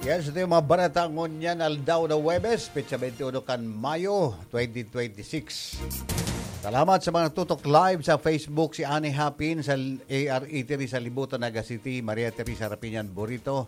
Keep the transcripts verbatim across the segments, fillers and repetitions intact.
Yes, ito yung mga bareta ngunyan aldaw na Huwebes, petsa twenty-one kan Mayo, twenty twenty-six. Salamat sa mga nagtutok live sa Facebook, si Annie Hapin sa A R E Teresa Libutan, Naga City, Maria Teresa Rapiñan Burito,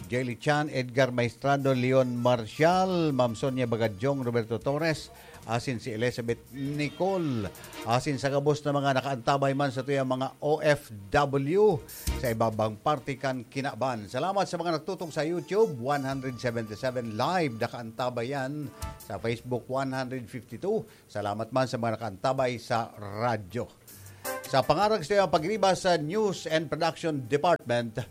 Jelly Chan, Edgar Maestrado, Leon Marcial, Ma'am Sonia Bagadyong, Roberto Torres, asin si Elizabeth Nicole, asin sa gabos na mga nakaantabay man sa tuyang mga O F W sa ibabang parte kan kinaban. Salamat sa mga nagtutok sa YouTube, one hundred seventy-seven live nakaantabay yan. Sa Facebook, one hundred fifty-two. Salamat man sa mga nakaantabay sa radyo. Sa pangarag sa tuyang pagriba sa News and Production Department,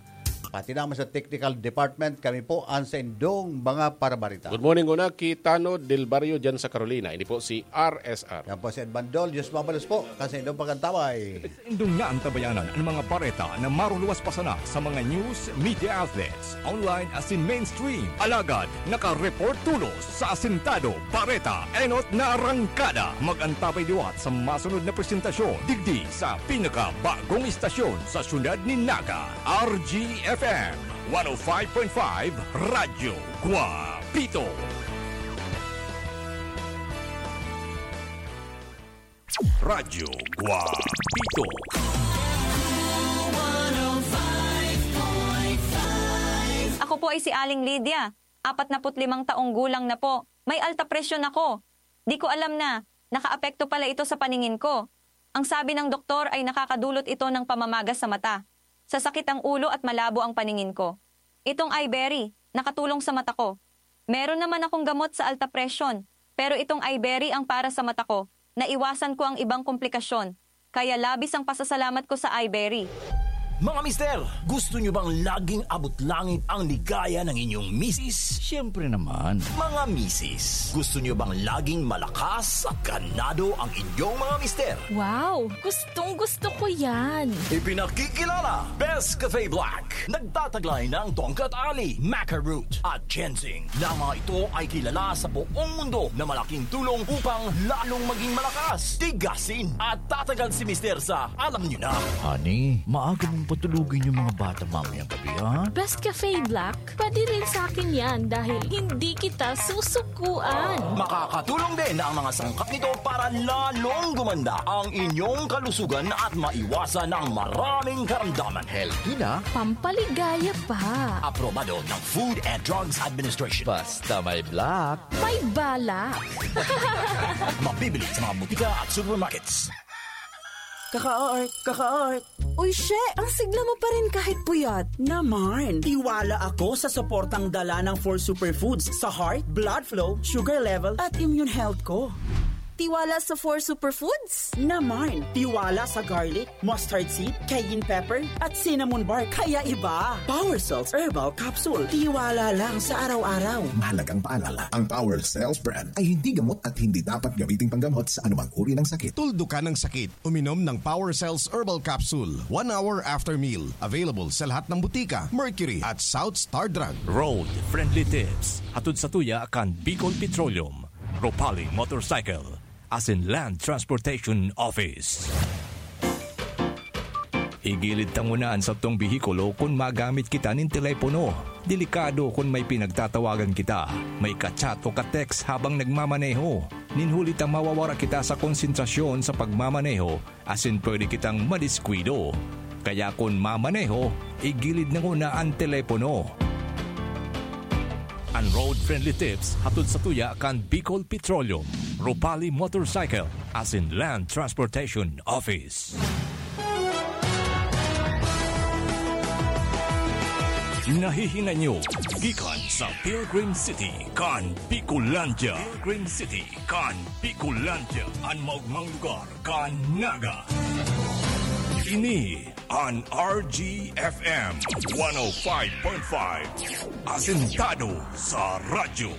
pati naman sa Technical Department, kami po ang saindong mga parabarita. Good morning, una, ki Tano Del Barrio dyan sa Carolina. Ini po si R S R. Yan po si Edmandol. Diyos mabalos po. Kasi indong pagkantabay. Indong naantabayanan ang mga bareta na maruluwas pa sana sa mga news media outlets, online asin mainstream. Alagad, naka-report tulos sa Asintado, Bareta, Enot na Arangkada. Mag-antabay liwat sa masunod na presentasyon, digdi sa pinakabagong istasyon sa siyudad ni Naga, R G F M, one oh five point five Radyo Guapito. Radyo Guapito. Ako po ay si Aling Lydia, apat na put limang taong gulang na po. May alta presyon ako. Di ko alam na nakaapekto pala ito sa paningin ko. Ang sabi ng doktor ay nakakadulot ito ng pamamaga sa mata, sasakit ang ulo at malabo ang paningin ko. Itong Iberry, nakatulong sa mata ko. Meron naman akong gamot sa alta presyon, pero itong Iberry ang para sa mata ko. Naiwasan ko ang ibang komplikasyon, kaya labis ang pasasalamat ko sa Iberry. Mga mister, gusto nyo bang laging abot langit ang ligaya ng inyong misis? Siyempre naman. Mga misis, gusto nyo bang laging malakas at ganado ang inyong mga mister? Wow! Gustong gusto ko yan! Ipinakikilala, Best Cafe Black. Nagtataglay ng tongkat ali, maca root, at ginseng, na mga ito ay kilala sa buong mundo na malaking tulong upang lalong maging malakas, tigasin, at tatagal si mister sa alam nyo na. Honey, maaga mong patulugin yung mga bata mamayang gabi, ha? Best Cafe Black, pwede rin sa akin yan dahil hindi kita susukuan. Makakatulong din ang mga sangkap nito para lalong gumanda ang inyong kalusugan at maiwasan ang maraming karamdaman. Healthy na. Pampaligaya pa. Aprobado ng Food and Drugs Administration. Basta may black. May balak. Mabibili sa mga butika at supermarkets. Kaka-art, kaka-art. Uy, she, ang sigla mo pa rin kahit puyat. Naman, tiwala ako sa suportang dala ng four superfoods sa heart, blood flow, sugar level, at immune health ko. Tiwala sa four superfoods? Naman, tiwala sa garlic, mustard seed, cayenne pepper, at cinnamon bark. Kaya iba. Power Cells Herbal Capsule. Tiwala lang sa araw-araw. Mahalagang paalala, ang Power Cells brand ay hindi gamot at hindi dapat gamiting panggamot sa anumang uri ng sakit. Tuldukan ang sakit. Uminom ng Power Cells Herbal Capsule one hour after meal. Available sa lahat ng butika, Mercury at South Star Drug. Road Friendly Tips. Hatod sa tuya kan Bicol Petroleum, Ropali Motorcycle, asin Land Transportation Office. Igilid ta nguna an satong behikulo kun magamit kita nin telepono. Delikado kun may pinagtatawagan kita, may ka-chat o ka-text habang nagmamaneho. Nin huli ta mawawara kita sa konsentrasyon sa pagmamaneho asin pwede kitang madiskuido. Kaya kun mamaneho, igilid na nguna an telepono. An Road Friendly Tips hatod sa tuya kan Bicol Petroleum, Ropali Motorcycle, asin Land Transportation Office. Nahihinay nyo gikan sa Pilgrim City kan Bicolandia. Pilgrim City kan Bicolandia, an maogmang lugar kan Naga. Ini an R G F M one oh five point five, asentado sa radyo.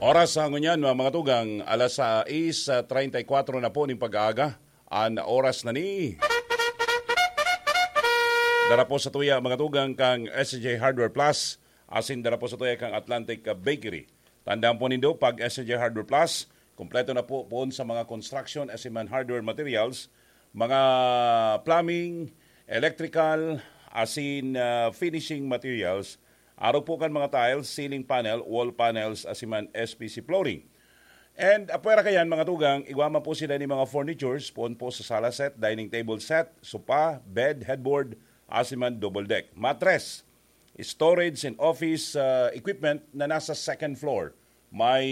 Oras sa ngunyan, mga, mga tugang, alas sais treinta y cuatro na po ning pag-aaga. An oras na ni. Dara po sa tuya, mga tugang, kang S J Hardware Plus, asin dara po sa tuya kang Atlantic Bakery. Tandaan po nindo, pag S J Hardware Plus, kompleto na po poon sa mga construction, asin man hardware materials, mga plumbing, electrical, asin ah, finishing materials, arog po kan mga tiles, ceiling panel, wall panels, asin man S P C flooring. And apwera kayan, mga tugang, igwa man po sila ni mga furnitures, poon po sa sala set, dining table set, sopa, bed, headboard, asin man double deck. Matres, storage and office ah, equipment na nasa second floor. May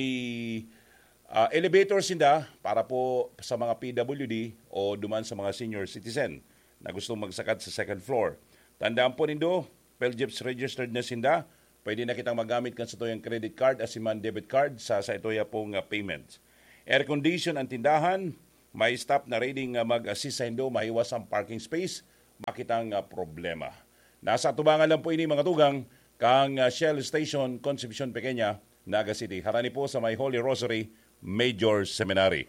ah, elevator sinda para po sa mga P W D o duman sa mga senior citizen na gustong magsakat sa second floor. Tandaan po nindo, PhilGEPS registered na sinda. Pwede na kitang magamit kan satuyang credit card asin man debit card sa, sa itoya pong ah, payment. Air condition ang tindahan, may staff na ready nga mag-assist sa indo mahiwas ang parking space, makitang ah, problema. Nasa atubangan lang po ini, mga tugang, kang ah, Shell Station, Concepcion Pequeña, Naga City. Harani po sa may Holy Rosary Major Seminary.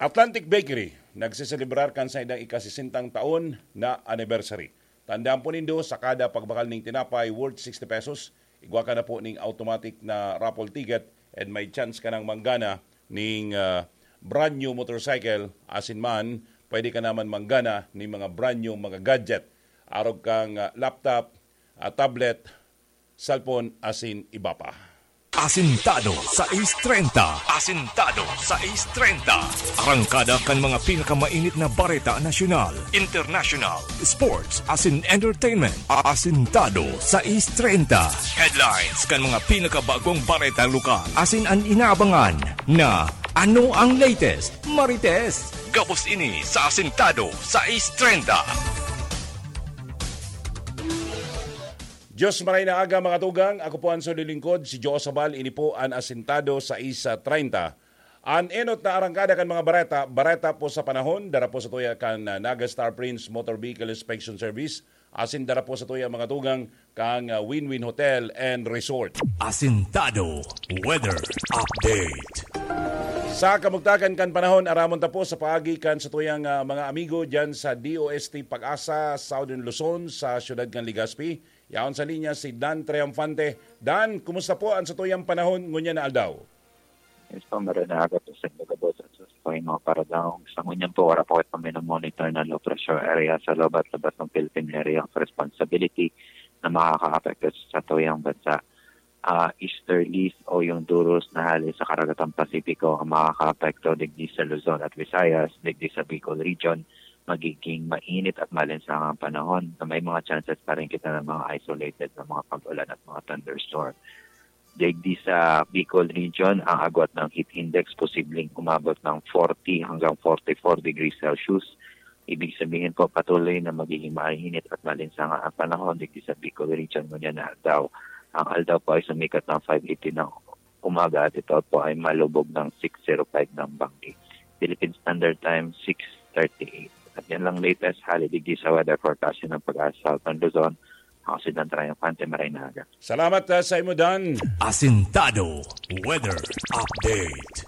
Atlantic Bakery nagseselebrar kan saindang ikasisentang taon na anniversary. Tandaan po nindo, sa kada pagbakal ning tinapay worth sixty pesos, igwa ka na po ning automatic na raffle ticket and may chance ka nang manggana ning ah, brand new motorcycle, asin man pwede ka naman manggana ning mga brand new mga gadget, arog kang ah, laptop, ah, tablet, cellphone, asin iba pa. Asintado sais treinta. Asintado sais treinta. Arangkada kan mga pinakamainit na bareta nasyonal, international, sports, asin entertainment. Asintado sais treinta. Headlines kan mga pinakabagong bareta lokal. Asin an inaabangan na ano ang latest, Marites? Gabos ini sa Asintado sais treinta. Diyos maray na aga, mga tugang. Ako po ang sulilingkod, si Joe Sabal. Ini po an Asintado sais treinta. An enot na arangkada kan mga bareta, bareta po sa panahon, dara po sa tuya kan ah, Naga Star Prince Motor Vehicle Inspection Service, asin dara po sa tuya, mga tugang, kang ah, Win-Win Hotel and Resort. Asintado Weather Update. Sa kamugtakan kan panahon, aramon ta po sa paagi kan satuyang ah, mga amigo diyan sa D O S T Pag-asa, Southern Luzon, sa siyudad kan Legazpi. Yaon sa linya si Dan Triunfante. Dan, kumusta po ang satuyang panahon ngunyan na aldaw? Yes po, maray na aga po sa inyo, gabos at sa mga paradang. Sa ngunyan po, wala po kayo pamina-monitor na low pressure area sa loob at labas ng Philippine Area of Responsibility na makakaapekto sa tuyang bansa. Ah, easterlies o yung duros na hali sa Karagatang Pasipiko ang makakaapekto digdi sa Luzon at Visayas, digdi sa Bicol Region. Magiging mainit at malinsangang panahon na may mga chances pa rin kita ng mga isolated na mga pag-ulan at mga thunderstorm. Digdi sa Bicol Region, ang agwat ng heat index posibleng umabot ng forty hanggang forty-four degrees Celsius. Ibig sabihin po, patuloy na magiging mainit at malinsangang ang panahon digdi sa Bicol Region ngunyan na aldaw. Ang aldaw po ay sumikat ng five eighteen ng umaga at ito po ay malubog ng six zero five ng banggi. Philippine Standard Time, six thirty-eight. At yan lang latest hali digdi sa weather forecast ng Pag-asa Southern Luzon. Ako si Dan Triunfante, maray na aga. Salamat ah, sa imo, Dan. Asintado Weather Update.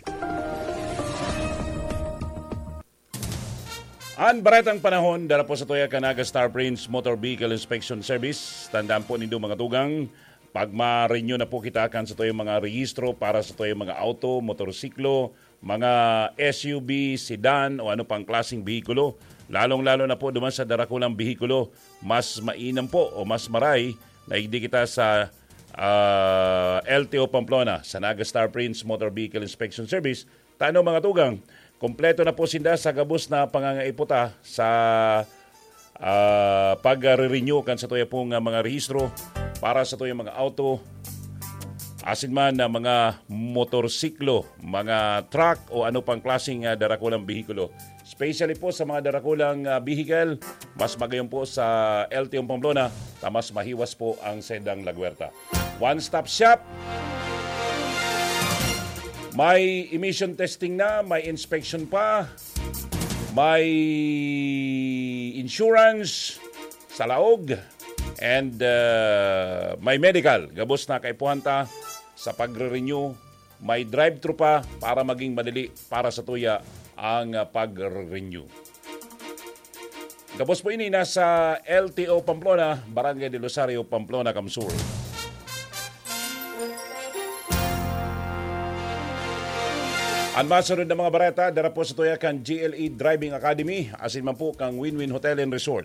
An baretang panahon, dara po sa tuya kan Naga Star Prince Motor Vehicle Inspection Service. Tandaan po nindo, mga tugang, pag ma-renew na po kita kan sa tuyang mga rehistro para sa tuyang mga auto, motorsiklo, mga S U V, sedan o ano pang klaseng behikulo, lalong-lalo na po duman sa darakulang behikulo, mas mainam po o mas maray na igdi kita sa ah, L T O Pamplona, sa Naga Star Prince Motor Vehicle Inspection Service. Tano, mga tugang, kompleto na po sinda sa gabos na pangangaiputa sa ah, pag-re-renew kan sa tuya pong ah, mga rehistro para sa tuyang mga auto, asin man na mga motorsiklo, mga truck o ano pang klaseng ah, darakulang behikulo. Especially po sa mga darakulang ah, vehicle, mas magayon po sa L T O Pamplona, ta mas mahiwas po ang sedang lagwerta. One-stop shop. May emission testing na, may inspection pa, may insurance sa laog, and uh, may medical. Gabos na kaipuhan ta sa pagre-renew, may drive-thru pa para maging madali para sa tuya ang uh, pag-renew. Gabos po ini nasa L T O Pamplona, Barangay del Rosario, Pamplona, Kamsur. An masunod na mga bareta, dara po sa tuya kan G L E Driving Academy, asin man po kang Win-Win Hotel and Resort.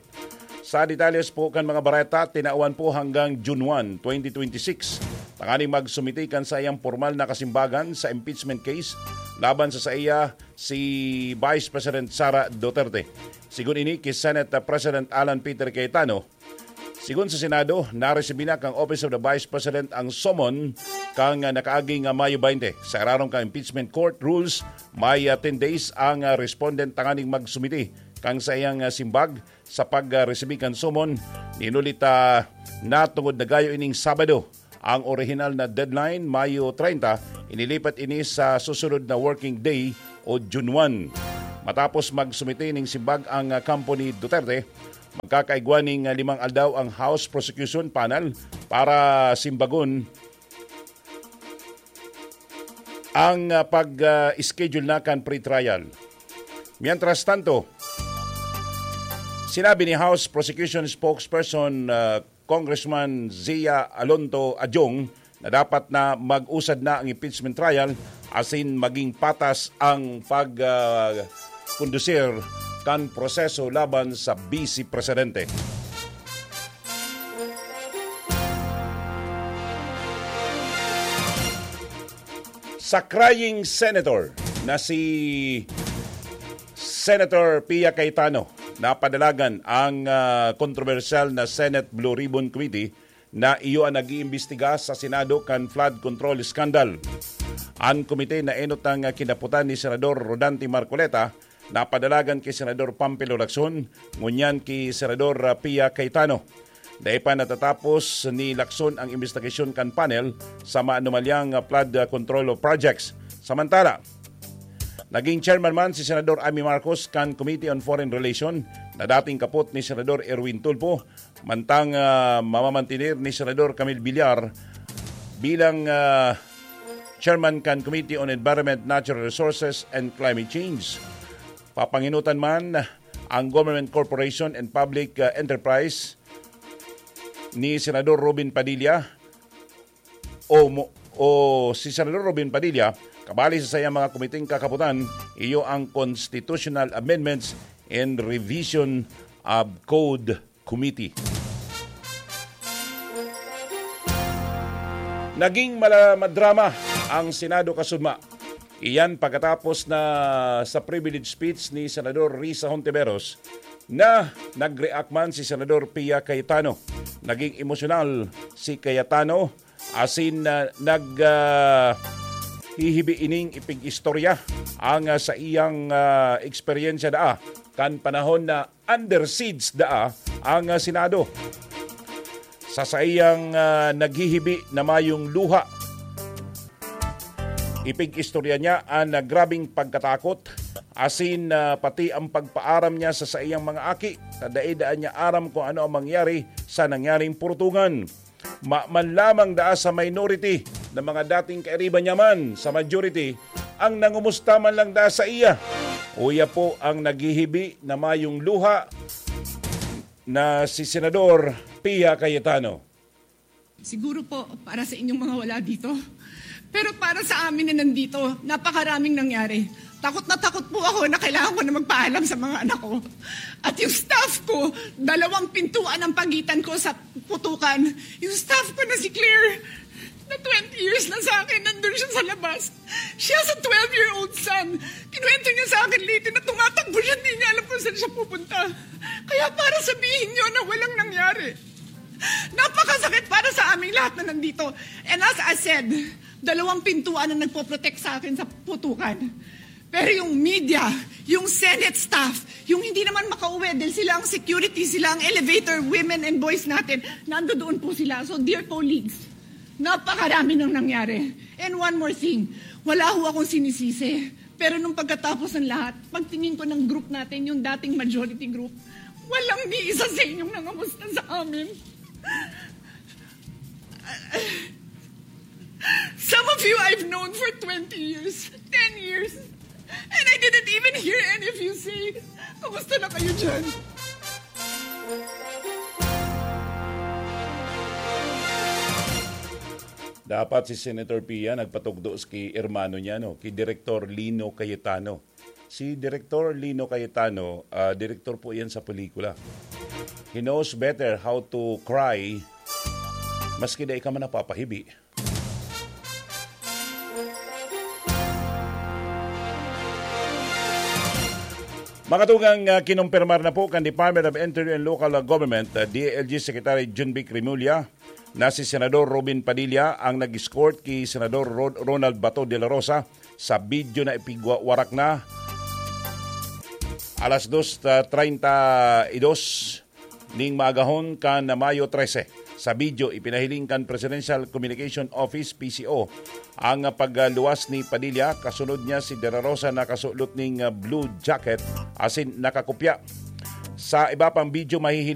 Sa detalles po kan mga bareta, tinawan po hanggang June one, twenty twenty-six, tanganing magsumiti kan saiyang pormal na kasimbagan sa impeachment case laban sa saiya si Vice President Sara Duterte. Sigon ini ki Senate President Alan Peter Cayetano, sigon sa Senado, naresibi na kan Office of the Vice President ang summon kan nakaaging Mayo twenty. Sa irarom kan impeachment court rules, may ah, ten days ang ah, respondent tanganing magsumiti kan saiyang ah, simbag sa pag-resibi kan summon. Inulit na tungod nagayo ining Sabado ang orihinal na deadline, Mayo treinta, inilipat ini sa susunod na working day o June one. Matapos magsumiti ning simbag ang ah, kampo ni Duterte, magkakaigwa ning ah, limang aldaw ang House Prosecution Panel para simbagon ang ah, pag-schedule na kan pre-trial. Mientras tanto, sinabi ni House Prosecution Spokesperson ah, Congressman Zia Alonto Adjong na dapat na mag-usad na ang impeachment trial asin maging patas ang pag ah, kondusir kan proseso laban sa Vice Presidente. Sa crying senator na si Senator Pia Cayetano, napadalagan ang ah, kontrobersyal na Senate Blue Ribbon Committee na iyo ang nag-iimbestiga sa Senado kan flood control scandal. An komite na enot ang kinaputan ni Senador Rodante Marcoleta, napadalagan ki Senador Pampilo Lacson, ngunyan ki Senador ah, Pia Cayetano. Dai pa natatapos ni Lacson ang imbestigasyon kan panel sa maanomalyang ah, flood ah, control projects. Samantala, naging chairman man si Senador Amy Marcos kan Committee on Foreign Relation na dating kapot ni Senador Erwin Tulfo, mantang ah, mamamantener ni Senador Camille Villar bilang ah, chairman kan Committee on Environment, Natural Resources and Climate Change. Papanginutan man ang Government Corporation and Public ah, Enterprise ni Senador Robin Padilla o mo- o si Senador Robin Padilla, kabali sa sayang mga komiteng kakaputan, iyo ang Constitutional Amendments and Revision of Code Committee. Naging mala- madrama ang Senado kasudma. Iyan pagkatapos na sa privilege speech ni Senador Risa Hontiveros na nag-react man si Senador Pia Cayetano. Naging emosyonal si Cayetano asin na nag ah, hihibi ining ipig-istorya ang ah, sa iyang ah, eksperyensya daa kan panahon na under siege daa ang ah, Senado. Sa saiyang ah, naghihibi na mayong luha, ipig-istorya niya an ah, grabing pagkatakot asin ah, pati ang pagpaaram niya sa saiyang mga aki na dai daan niya aram kung ano ang mangyari sa nangyaring purtungan. Maman lamang daa sa minority na mga dating kairiba niya man sa majority ang nangumusta man lang daa sa iya. Uya po ang naghihibi na mayong luha na si Senador Pia Cayetano. Siguro po para sa inyong mga wala dito. Pero para sa amin na nandito, napakaraming nangyari. Takot na takot po ako na kailangan ko na magpaalam sa mga anak ko. At yung staff ko, dalawang pintuan ang pagitan ko sa putukan. Yung staff ko na si Claire, na twenty years na sa akin, nandun siya sa labas. She has a twelve-year-old son. Kinuwento niya sa akin later na tumatakbo siya, hindi niya alam kung saan siya pupunta. Kaya para sabihin niyo na walang nangyari. Napakasakit para sa aming lahat na nandito. And as I said, dalawang pintuan ang nagpo-protect sa akin sa putukan. Pero yung media, yung Senate staff, yung hindi naman makauwi dahil sila ang security, sila ang elevator, women and boys natin, nandoon po sila. So, dear colleagues, napakarami nang nangyari. And one more thing, wala ho akong sinisisi. Pero nung pagkatapos ng lahat, pagtingin ko ng group natin, yung dating majority group, walang ni isa sa inyong nangamusta sa amin. Some of you I've known for twenty years, ten years, and I didn't even hear any of you say, "Kumusta na kayo dyan?" Dapat si Senator Pia nagpatugdo ki hermano niya, no? Ki Direktor Lino Cayetano. Si Direktor Lino Cayetano, ah, direktor po yan sa pelikula. He knows better how to cry maski dai ka man napapahibi. Mga tugang, ah, kinumpirmar na po kan Department of Interior and Local Government, ah, D I L G Secretary Junvic Remulla, na si Senador Robin Padilla ang nag-escort ki Senador Ro-, Ronald Bato de la Rosa sa video na ipigwawarak na alas dos treinta y dos ning maagahon kan Mayo trese. Sa video, ipinahiling kan Presidential Communication Office, P C O, ang pagluwas ni Padilla, kasunod niya si De La Rosa na kasulot ning blue jacket asin nakakopya. Sa iba pang video, mahihiling